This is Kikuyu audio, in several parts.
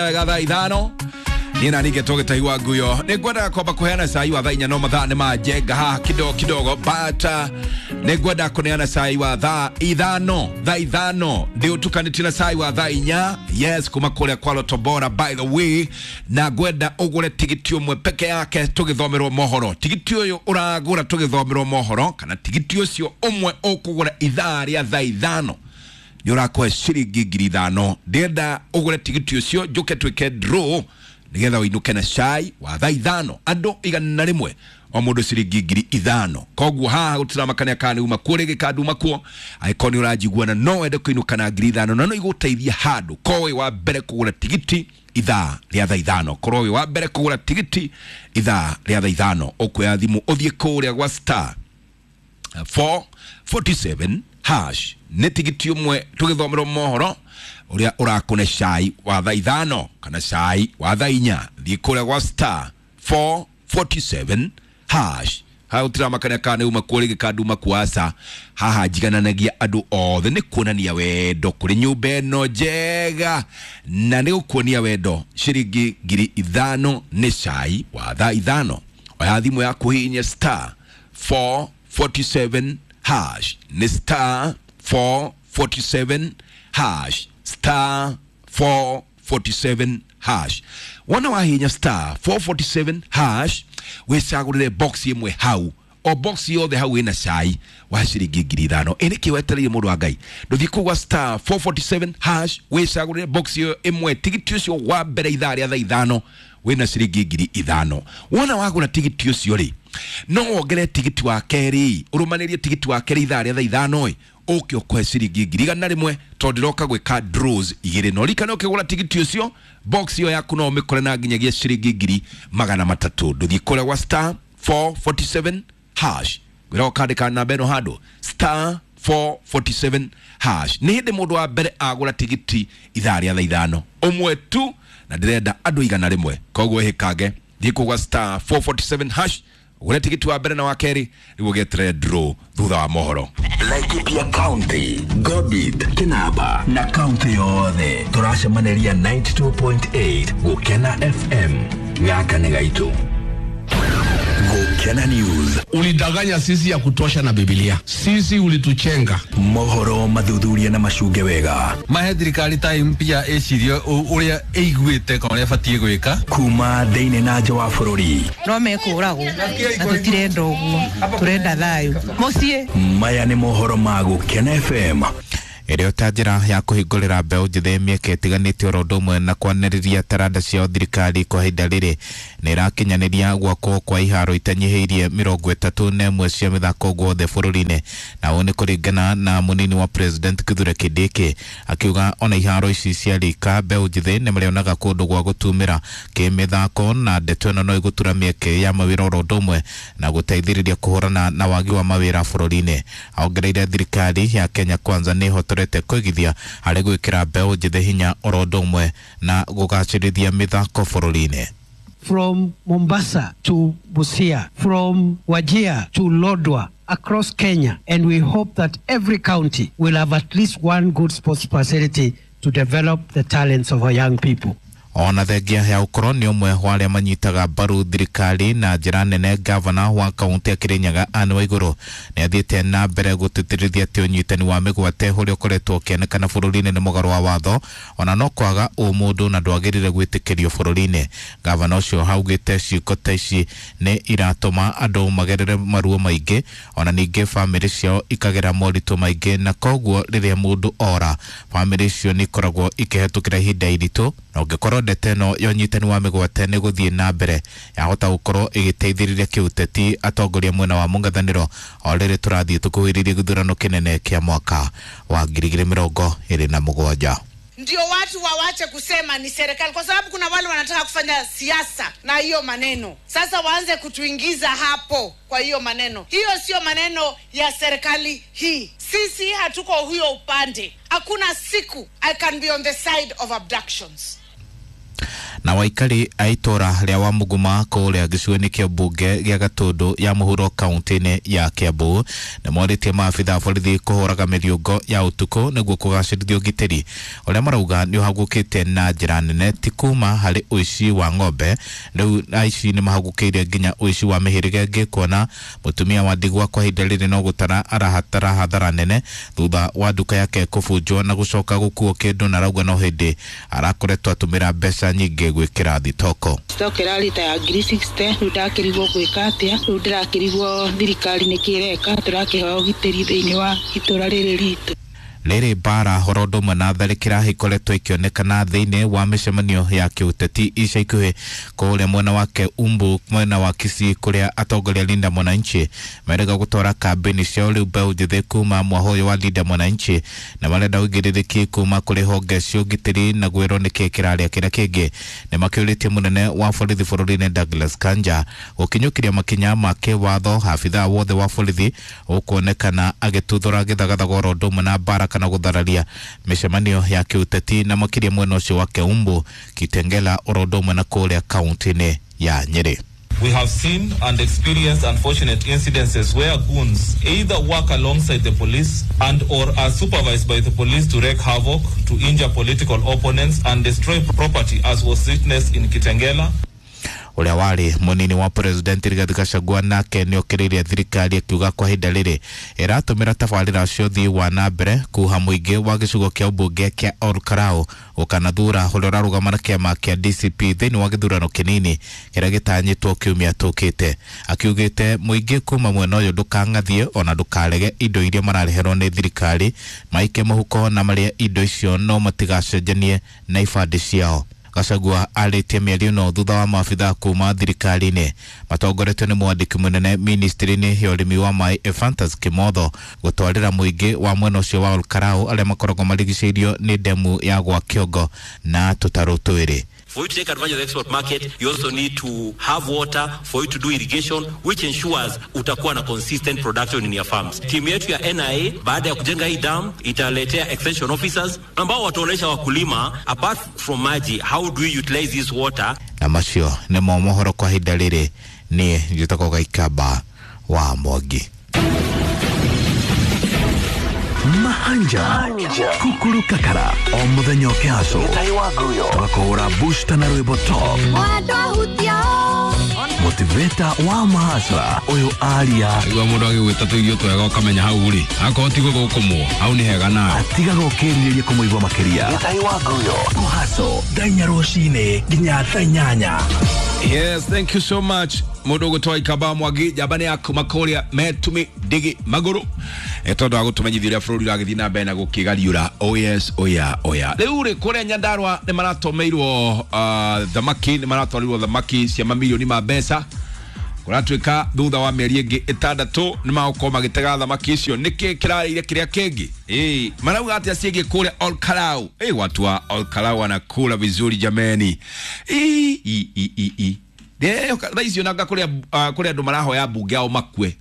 Wega thaa 5 niĩ na ningĩ tũgĩtaigua nguyo nĩ ngwendaga kwamba kũheana cai wa thaa 4, no mathaa nĩ manjenga haha kidogo kidogo, but nĩ ngwenda kũneana cai wa thaa 5. Thaa 5 ndĩ ũtukanĩtie na cai wa thaa 4, yes, kuma kũrĩa kwa Lotto Bora, by the way, na ngwenda ũgũre tigiti ũmwe peke yake tũgĩthomerwo mohoro. Tigiti ũyũ ũragũra tũgĩthomerwo mohoro, kana tigiti ũcio ũmwe ũkũgũra ithaa rĩa thaa 5, nĩ ũrakũhe ciringi 5,000. Ndĩrenda ũgũre tigiti ũcio njũke twĩke draw nĩgetha ũinũke na cai wa thaa 5, andũ 100, o mũndũ ciringi 5,000. Koguo haha gũtiramakania kana nĩ uma kuo rĩngĩ kana nduma kuo. Angĩkorwo nĩ ũranjigua na no wende kũinũka na 5,000 na no igũteithia handũ, korwo wĩ wa mbere kũgũra tigiti ithaa rĩa thaa 5, korwo wĩ wa mbere kũgũra tigiti ithaa rĩa thaa 5, ũkuoya thimũ ũthiĩ kũrĩa gwa star 447 hash. Nĩ tigiti ũmwe tũgĩthomerwo mohoro ũrĩa ũrakũne cai wa thaa 5 kana cai wa thaa 4. Thiĩ kũrĩa gwa star 447 hash. Haha gũtiramakania kana nĩ uma kuo rĩngĩ kana nduma kuo, aca. Haha njigananagia andũ othe, nĩ kuonania wendo kũrĩ nyũmba ĩno njega na nĩ gũkuonia wendo. Ciringi 5,000 nĩ cai wa thaa 5. Oya thimũ yaku, hihinya star 447 hash. Nĩ star 447 hash, star 447 hash. Wona wahinya star 447 hash, wĩcagũrĩre box ĩmwe hau, o box yothe hau ĩna cai wa ciringi 5,000. Ĩ nĩkĩ wetereire, mũndũ wa Ngai? Ndũthiĩ kũu gwa star 447 hash, wĩcagũrĩre box ĩyo ĩmwe, tigiti ũcio wa mbere ithaa rĩa thaa 5 wĩna ciringi 5,000. Wona wagũra tigiti ũcio rĩ, no wongere tigiti wa kerĩ, ũrũmanĩrie tigiti wa kerĩ ithaa rĩa thaa 5 ĩ ũke ũkũhe ciringi 100,000, tondũ ndĩroka gwĩka draws igĩrĩ. No ririkana, ũkĩgũra tigiti ũcio, box ĩyo yaku no ũmĩkore na nginyagia ciringi 300,000. Ndũthiĩ kũrĩa gwa star 447 hash, ngwĩra ũkandĩka namba ĩno handũ, star 447 hash. Nĩ hĩndĩ mũndũ wa mbere agũra tigiti ithaa rĩa thaa 5, ũmwe tu, na ndĩrenda andũ 100. Koguo ĩhĩkange, thiĩ kũu gwa star 447 hash, ũgũre tigiti wa mbere na wa kerĩ, nĩguo gĩeterere draw thutha wa mohoro. Laikipia County, Gobit, Kinaba na kaunti yothe tũracemanĩria 92.8 Gũkena FM. Gaka nĩ gaitũ, Gũkena News. Ulidanganya sisi ya kutosha na Biblia. Sisi ulituchenga. Mohoro mathuthuria na macunge wega. Mahe thirikari time pia ĩcirie ũrĩa ĩiguĩte kana ũrĩa ĩbatiĩ gwĩka. Kuma thĩinĩ na nja wa bũrũri. No mekũragwo na tũtirenda ũguo, tũrenda thayũ mũciĩ. Maya nĩ mohoro ma Gũkena FM. Ĩrĩ ta njĩra ya kũhingũrĩra mbeũ njĩthĩ mĩeke ĩtiganĩte oro ũndũ ũmwe na kwanĩrĩria taranda ciao, thirikari kwa ihinda rĩrĩ nĩ ĩrakinyanĩria gwakwo kwa iharo itanyihĩirie 31 cia mĩthako guothe bũrũri-inĩ. Na ũũ nĩ kũringana na mũnini wa president Kithure Kindiki, akiuga ona iharo ici cia rika, mbeũ njĩthĩ nĩ marĩonaga kũndũ gwa gũtumĩra kĩmĩthako, na ndeto ĩno no ĩgũtura mĩeke ya mawĩra oro ũndũ ũmwe na gũteithĩrĩria kũhũrana na wagi wa mawĩra bũrũri-inĩ. Aongereire thirikari ya Kenya Kwanza nĩ ĩhotorete kũigithia harĩ gwĩkĩra mbeũ njĩthĩ hinya oro ũndũ ũmwe na gũgacĩrithia mĩthako bũrũri-inĩ. From Mombasa to Busia, from Wajir to Lodwar, across Kenya. And we hope that every county will have at least one good sports facility to develop the talents of our young people. Ona thengia ya gũkorwo nĩ ũmwe wa arĩa manyitaga mbaru thirikari na njĩra nene, gavana wa kaunti ya Kirinyaga Anne Waigũrũ nĩ athiĩte na mbere gũtĩtĩrithia atĩ ũnyitani wa mĩgwate ũrĩa ũkoretwo ũkĩonekana bũrũri-inĩ nĩ mũgarũ wa watho ona no kwaga ũmũndũ na ndwagĩrĩire gwĩtĩkĩrio bũrũri-inĩ. Gavana ũcio augĩte ciĩko ta ici nĩ iratũma andũ magerere maruo maingĩ, ona ningĩ bamĩrĩ ciao ikagera moritũ maingĩ, na koguo rĩrĩa mũndũ ora, bamĩrĩ icio nĩ ikoragwo ikĩhetũkĩra ihinda iritũ, na ũngĩkorwo ndeto ĩno ya ũnyitani wa mĩgwate nĩ gũthiĩ na mbere, yahota gũkorwo ĩgĩteithĩrĩria kĩũteti atongoria mwena wa mũng'ethanĩro o rĩrĩ tũrathiĩ tũkuhĩrĩirie gĩthurano kĩnene kĩa mwaka wa 2027. Ndio watu wawache kusema ni serikali, kwa sababu kuna wale wanataka kufanya siasa na hiyo maneno. Sasa waanze kutuingiza hapo kwa hiyo maneno. Hiyo sio maneno ya serikali hii. Sisi hatuko huyo upande. Hakuna siku I can be on the side of abductions. Na waikari a itũra rĩa Wamuguma kũrĩa gĩcigo-inĩ kĩa mbunge gĩa Gatũndũ ya mũhuro kaunti-inĩ ya Kiambu nĩ morĩtie maabitha a borithi kũhũraga mĩriũngo ya ũtukũ nĩguo kũgacĩrithia ũgitĩri ũrĩa marauga nĩ ũhagũkĩte na njĩra nene ti kuma harĩ ũici wa ng'ombe. Rĩu aici nĩ mahagũkĩire nginya ũici wa mĩhĩrĩga ĩngĩ, kuona mũtumia wa ndigwa kwa ihinda rĩrĩ no gũtara arahatara hathara nene thutha wa nduka yake kũbunjwo na gũcoka gũkuo kĩndũ, na arauga no hĩndĩ arakoretwo atũmĩra mbeca nyingĩ gwĩkĩra thitoko. Stock ĩrarĩ ta ya 60,000. Rĩu ndakĩrigwo gwĩka atĩa, rĩu ndĩrakĩrigwo thirikari nĩkĩ ĩreka, tũrakĩhoya ũgitĩri thĩinĩ wa itũra rĩrĩ ritũ. Rĩrĩ mbara horo ũndũ ũmwe na tharĩkĩra ikoretwo ikĩonekana thĩinĩ wa mĩcemanio ya kĩũteti ica ikuhĩ kũrĩa mwena wake Umbu mwena wa Kisii kũrĩa atongoria Linda Mwananchi merega gũtwara kambĩini ciao rĩu mbeũ njĩthĩ kuma mwaho ũyũ wa Linda Mwananchi na marenda ũigĩrĩrĩki kuma kũrĩ honge cia ũgitĩri na gwĩrwo nĩkĩ kĩrarĩa kĩrĩa kĩngĩ. Nĩ makĩũrĩtie mũnene wa borithi bũrũri-inĩ Douglas Kanja gũkinyũkĩria makinya ma kĩwatho abithaa wothe wa borithi ũkuonekana agĩtuthũra gĩthagathago oro ũndũ ũmwe na mbara kana gũthararia mĩcemanio ya kĩũteti na makĩria mwena ũcio wa Keumbu, Kitengela oro ũndũ ũmwe na kũrĩa kaunti-inĩ ya Nyĩrĩ. We have seen and experienced unfortunate incidences where goons either work alongside the police and or are supervised by the police to wreak havoc, to injure political opponents and destroy property, as was witnessed in Kitengela. Ũrĩa warĩ mũnini wa president Rigathi Gachagua nake nĩ okĩrĩirie thirikari akiuga kwa ihinda rĩrĩ ĩratũmĩra tabarĩra cia ũthii wa na mbere kuha mũingĩ wa gĩcigo kĩa ũmbunge kĩa Olkarau gũkanathura ũrĩa ũrarũgama na kĩama kĩa DCP thĩinĩ wa gĩthurano kĩnini kĩrĩa gĩtanyĩtwo kiumia tũkĩte. Akiugĩte mũingĩ kuma mwena ũyũ ndũkang'athie ona ndũkarege indo iria marareherwo nĩ thirikari, maike mũhuko na marĩe indo icio no matigacenjanie na ibandĩ ciao. Gachagua arĩtie mĩario ĩno thutha wa maabitha kuma thirikari-inĩ matongoretio nĩ mwandĩki mũnene ministry-inĩ ya ũrĩmi wa maĩ Ephantus Kimotho gũtwarĩra mũingĩ wa mwena ũcio wa Olkarau arĩa makoragwo marigicĩirio nĩ ndemu ya gwa Kĩongo na tũtarũ twĩrĩ. For you to take advantage of the export market, you also need to have water for you to do irrigation, which ensures utakuwa na consistent production in your farms. Timu yetu ya NIA, baada ya kujenga hii dam, italetea extension officers ambao wataonyesha wakulima, apart from maji, how do we utilize this water. Na macio nĩmo mohoro kwa ihinda rĩrĩ. Niĩ njĩtagwo Gaikamba wa Mwangi. Mahanja kukuru kakara o muthenya ũkĩhaco tũgakũhũra booster na rwĩmbo top motiveta wa mahasra ũyũ aria igua mũndũ agĩgwĩta tũirio twega ũkamenya hau rĩ akorwo ti gũthũkũmwo hau nĩ hega nawe atigaga ũkĩrirĩria kũmũigua makĩria kũhaco thaa inya rũcinĩ nginya thaa inyanya. Yes, thank you so much mundu ugutwa Ikamba Mwangi njamba nĩ yaku makũrĩa metumi ndigi magũrũ tondũ wa gũtũmenyithia ũrĩa bũrũri ũragĩthiĩ na mbere na gũkĩgariũra. Oh yes, oya oya. Rĩu rĩ kũrĩa Nyandarua nĩ maratũmĩirwo thamaki, nĩ maratwarirwo thamaki cia mamirioni ma mbeca. Kũratuĩka thutha wa mĩeri ĩngĩ ĩtandatũ nĩ magũkorwo magĩtega thamaki icio. Nĩkĩ kĩrarĩire kĩrĩa kĩngĩ? Marauga atĩa ciĩgiĩ kũrĩa Olkarau? Watu wa Olkarau wanakula vizuri jameni. Thaa icio nanga kũrĩa andũ marahoya mbunge ao makue.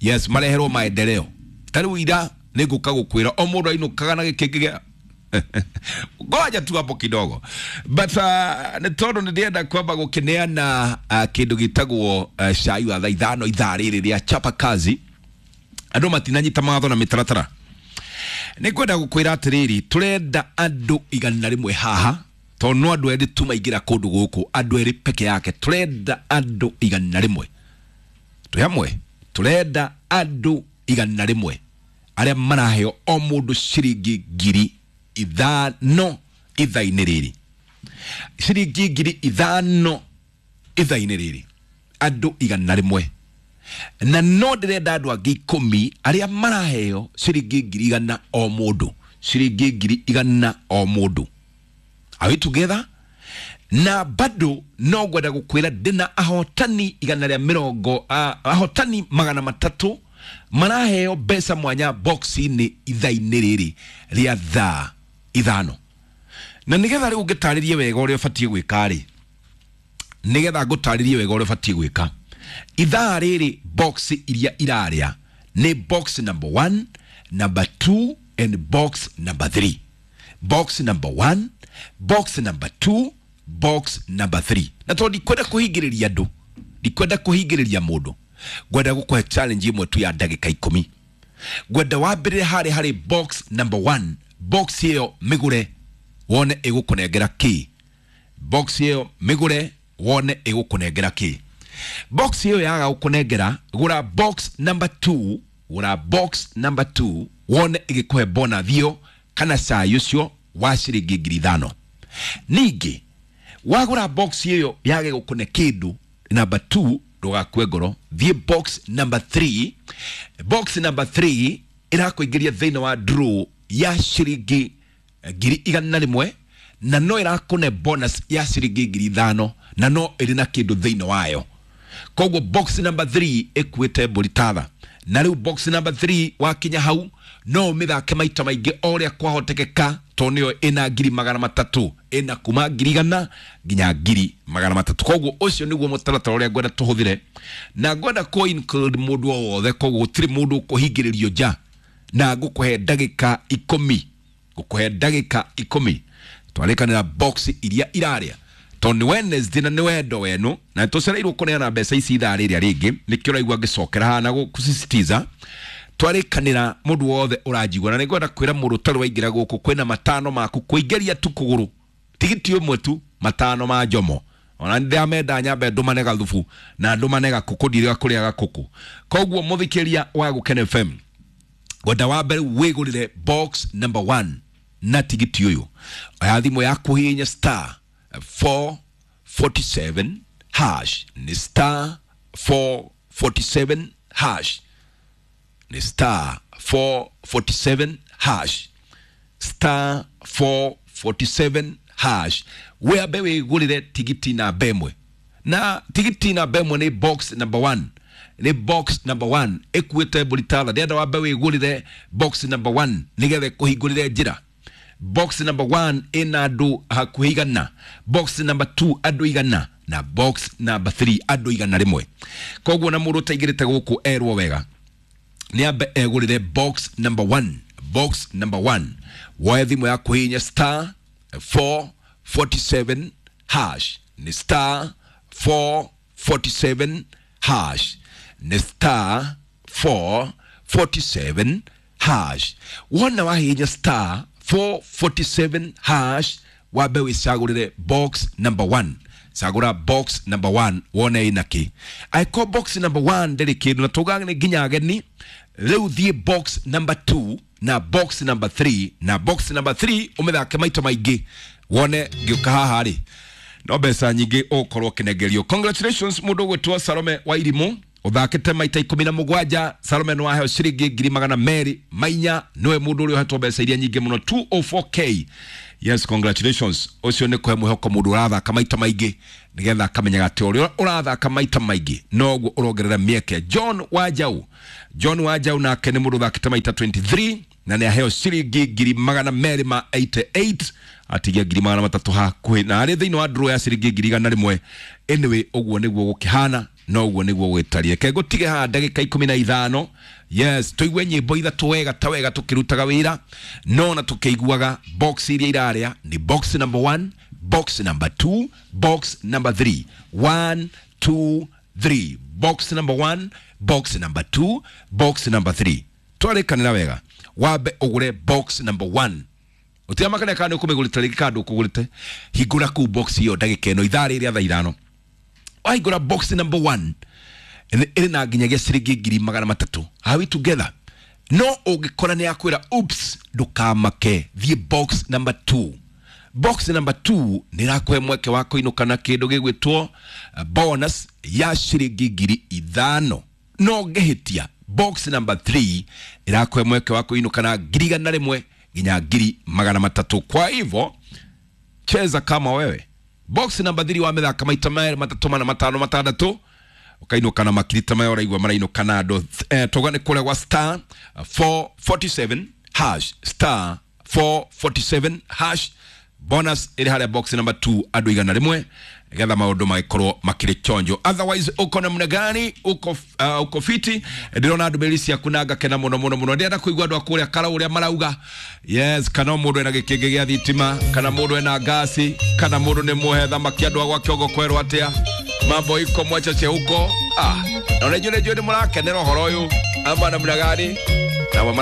Yes, mareherwo maendeleo. Ta rĩu ira nĩngũka gũkwĩra o mũndũ ainũkaga na gĩkĩngĩ gĩa ngoja tu hapo kidogo, but nĩ tondũ nĩ ndĩrenda kwamba gũkĩneana kĩndũ gĩtagwo cai wa thaa ithano ithaa rĩrĩ rĩa chapa kazi. Andũ matinanyita mawatho na mĩtaratara. Nĩ ngwenda gũkwĩra atĩrĩrĩ, tũrenda andũ 100 haha tondũ no andũ erĩ tu maingĩra kũndũ gũkũ, andũ erĩ peke yake. Tũrenda andũ 100 twĩ hamwe, tũrenda andũ 100 arĩa maraheo o mũndũ ciringi 5,000 ithaa-inĩ rĩrĩ, ciringi 5,000 ithaa-inĩ rĩrĩ, andũ 100. Na no ndĩrenda andũ angĩ 10 arĩa maraheo ciringi 100 o mũndũ, ciringi 100 o mũndũ. Are we together? Na bado no ngwenda gũkwĩra ndĩna ahotani 120, ahotani 300 maraheo mbeca mwanya box-inĩ ithaa-inĩ rĩrĩ rĩa thaa 5. Na nĩgetha rĩu ngĩtarĩrie wega ũrĩa ũbatiĩ gwĩka rĩ, nĩgetha ngũtarĩrie wega ũrĩa ũbatiĩ gwĩka, ithaa rĩrĩ box iria irarĩa nĩ box number 1, number 2 and box number 3. Box number 1, box number 2 Box number 3. Na tondũ ndikwenda kũhingĩrĩria andũ, ndikwenda kũhingĩrĩria mũndũ, ngwenda gũkũhe challenge ĩmwe tu ya ndagĩka 10. Ngwenda wambĩrĩre harĩ harĩ box number 1. Box ĩyo mĩgũre wone ĩgũkũnengera kĩ. Box ĩyo mĩgũre wone ĩgũkũnengera kĩ. Box ĩyo yaga gũkũnengera, gũra box number 2, gũra box number 2 wone ĩgĩkũhe bonus ĩyo kana cai ũcio wa ciringi 5,000. Ningĩ wagũra box ĩyo yage gũkũne kĩndũ number 2, ndũgakue ngoro, thiĩ box number 3. Box number 3 ĩrakũingĩria thĩinĩ wa draw ya ciringi 100,000, na no ĩrakũne bonus ya ciringi 5,000, na no ĩrĩ na kĩndũ thĩinĩ wayo. Koguo box number 3 ĩkuĩte mbũri tatha. Na rĩu box number 3 wakinya hau no ũmĩthake maita maingĩ o ũrĩa kwahotekeka, tondũ nĩyo ĩna 300,000, ĩna kuma 100,000 nginya 300,000. Koguo ũcio nĩguo mũtaratara ũrĩa ngwenda tũhũthĩre, na ngwenda kũ include mũndũ o wothe. Koguo gũtirĩ mũndũ ũkũhingĩrĩrio nja, na ngũkũhe ndagĩka 10, ngũkũhe ndagĩka 10 twarĩkanĩra box iria irarĩa, tondũ nĩ Wednesday na nĩ wendo wenu, na tũcereirwo kũneana mbeca ici ithaa rĩrĩa rĩngĩ, nĩkĩo ũraigua ngĩcokera haha na gũsisitiza. Twarĩkanĩra mũndũ wothe ũranjigua, na nĩngwenda kwĩra mũndũ ũtarĩ waingĩra gũkũ, kwĩna 5 maku kũingĩria tu kũgũrũ, tigiti ũmwe tu, 5 ma njomo. Ona ndĩramenda nyambe ndũmane gathubu na ndũmane gakũkũ, ndirĩga kũrĩa gakũkũ. Koguo mũthikĩria wa Gũkena FM, ngwenda wa mbere wĩgũrĩre box number 1 na tigiti ũyũ. Oya thimũ yaku hihinya star 447 hash, nĩ star 447 hash, nĩ star 447 hash, star 447 hash. Wĩambe wĩgũrĩre tigiti namba ĩmwe, na tigiti namba ĩmwe nĩ box number 1, nĩ box number 1 ĩkuĩte mbũri tatha. Ndĩrenda wambe wĩgũrĩre box number 1 nĩgetha ĩkũhingũrĩre njĩra. Box number 1 ĩna andũ hakuhĩ 100, box number 2 andũ 100, na box number 3 andũ 101. Koguo na mũndũ ũtaingĩrĩte gũkũ erwo wega nĩ ambe egũrĩre box number 1, box number 1. Woe thimũ yaku hihinya star 447 hash, nĩ star 447 hash, nĩ star 447 hash. Wona wahihinya star 447 hash, wambe wĩcagũrĩre box number 1. Cagũra box number 1 wone ĩna kĩ. Angĩkorwo box number 1 ndĩrĩ kĩndũ, na tugaga nĩ nginya ageni, rĩu thiĩ box number 2 na box number 3, na box number 3 ũmĩthake maita maingĩ wone ngĩũka haha rĩ no mbeca nyingĩ ũgũkorwo ũkĩnengerio. Congratulations mũndũ ũgwĩtwo Salome wa Irimũ, ũthakĩte maita 17. Salome nĩ waheo ciringi 204,000, nĩwe mũndũ ũrĩa ũhetwo mbeca iria nyingĩ mũno, 204k. Yes, congratulations. Ũcio nĩ kũhe mwĩhoko mũndũ ũrathaka maita maingĩ, nĩgetha akamenyaga atĩ ũrĩa ũrathaka maita maingĩ noguo ũrongerera mĩeke. John Wanjau, John Wanjau nake nĩ mũndũ ũthakĩte maita 23 na nĩ aheo ciringi 288,000, atigia 300,000 hakuhĩ, na arĩ thĩinĩ wa draw ya ciringi 101,000. Anyway, ũguo nĩguo gũkĩhana, no ũguo nĩguo gwĩtarie. Ke ngũtige haha ndagĩka 15. Yes, tũigue nyĩmbo 3 wega ta wega tũkĩrutaga wĩra, no na tũkĩiguaga box iria irarĩa nĩ box number 1, box number 2, box number 3. 1 2 3. Box number 1, box number 2, box number 3. Twarĩkanĩra wega, wambe ũgũre box number 1. Ũtiamakania kana nĩ ũkũmĩgũrĩte rĩngĩ kana ndũkũgũrĩte, hingũra kũu box ĩyo ndagĩka ĩno ithaa rĩrĩa thaa 5. Wahingũra box number 1 ĩrĩ na nginyagia ciringi 300,000. Are we together? No ũngĩkora nĩ yakwĩra oops, ndũkamake, thiĩ box number 2. Box number 2 nĩ ĩrakũhe mweke wa kũinũka na kĩndũ gĩgwĩtwo bonus ya ciringi 5,000. No ngĩhĩtia, box number 3 ĩrakũhe mweke wa kũinũka na 101,000 nginya 300,000. Kwa hivyo cheza kama wewe. Box number 3 wa mĩthaka maita 2 3 4 5 6 ũkainũka na makiri ta maya ũraigua marainũka na andũ. Tuga nĩ kũrĩa gwa star 447 hash, star 447 hash. Bonus ĩrĩ harĩa box number 2 andũ 100 nĩgetha maũndũ magĩkorwo makĩrĩ chonjo. Otherwise uko namna gani? Uko uko fiti? Ndĩrona ndũmĩrĩri ciaku na ngakena mũno mũno mũno. Ndĩrenda kũigua andũ a kũrĩa Karau ũrĩa marauga. Yes, kana mũndũ ena gĩkĩngĩ gĩa thitima, kana mũndũ ena ngasi, kana mũndũ nĩ mũhe thamaki andũ a gwa kĩongo kwerwo atĩa. Mambo iko mwachache huko. Ah, na nĩ njũĩ nĩ mũrakenera ũhoro ũyũ ama namna gani?